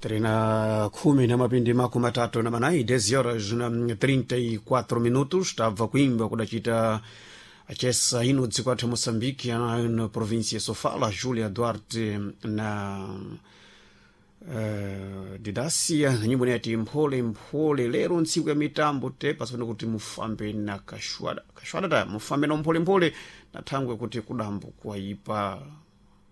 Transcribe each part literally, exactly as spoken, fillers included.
Trina khumi na mapindi makumi matatu na manayi dez horas na trinta e quatro minutos. Tabva kuimba kudacita achesa ino dziko athu Moçambique, na província Sofala, Julia Duarte na uh, Didacia na nyimbo inati "Mphole Mphole". Lero ntsiku ya mitambo te pasipano kuti mufambe na kashwada kashwada ta mufambe na mpholemphole na thangwe kuti kudambo kwaipa.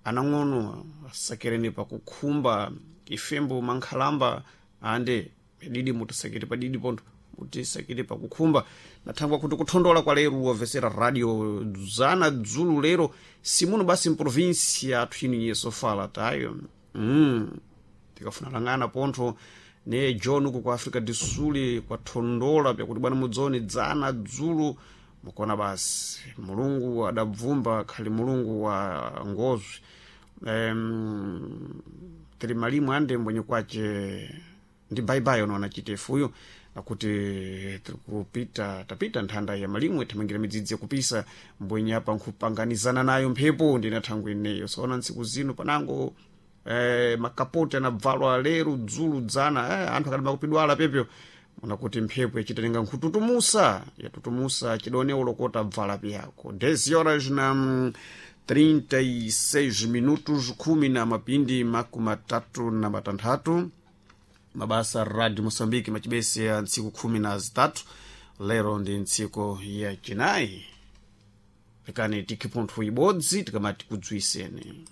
Anang'ono asakereni pakukhumba, ifembo mankhalamba ande didi mutisakire padidi pontho, mutisakire pakukhumba na thangwe kuti kuthondola kwa lero. Wamvesera radio dzana dzulu lero simuno basi mprovinsia athu inu yesofala tayo mm. Tikafuna lang'ana pontho ne John uku kwa Africa do Sul kwathondola pyakuti bwana mudzoni dzana dzulu mukona basi Mulungu adabvumba khali Mulungu wa ngozwi um, tili malimu ande mbwenye kwace ndi baibai ono anachitefuyo akuti tikupita tapita nthanda ya malimwe thamangira midzidzi yakupisa mbwenye apa nkhupanganizana nayo mphepo ndina thangwe ineyo. Soona ntsiku zino panango eh, makapoti anabvalwa lero dzulu dzana eh, anthu akadama kupidwala pepyo unakuti mphepo yachitaninga nkhututumusa yatutumusa chidone ulokota bvala pyako. dez horas na trinta e seis minutos, khumi na mapindi makumi matatu na matanthatu. Mabasa Radio Moçambique machibese ya ntsiku khumi na zitatu, lero ndi ntsiku ya chinayi. Lekani tikhe pontho ibodzi tikamati kudzwiseni.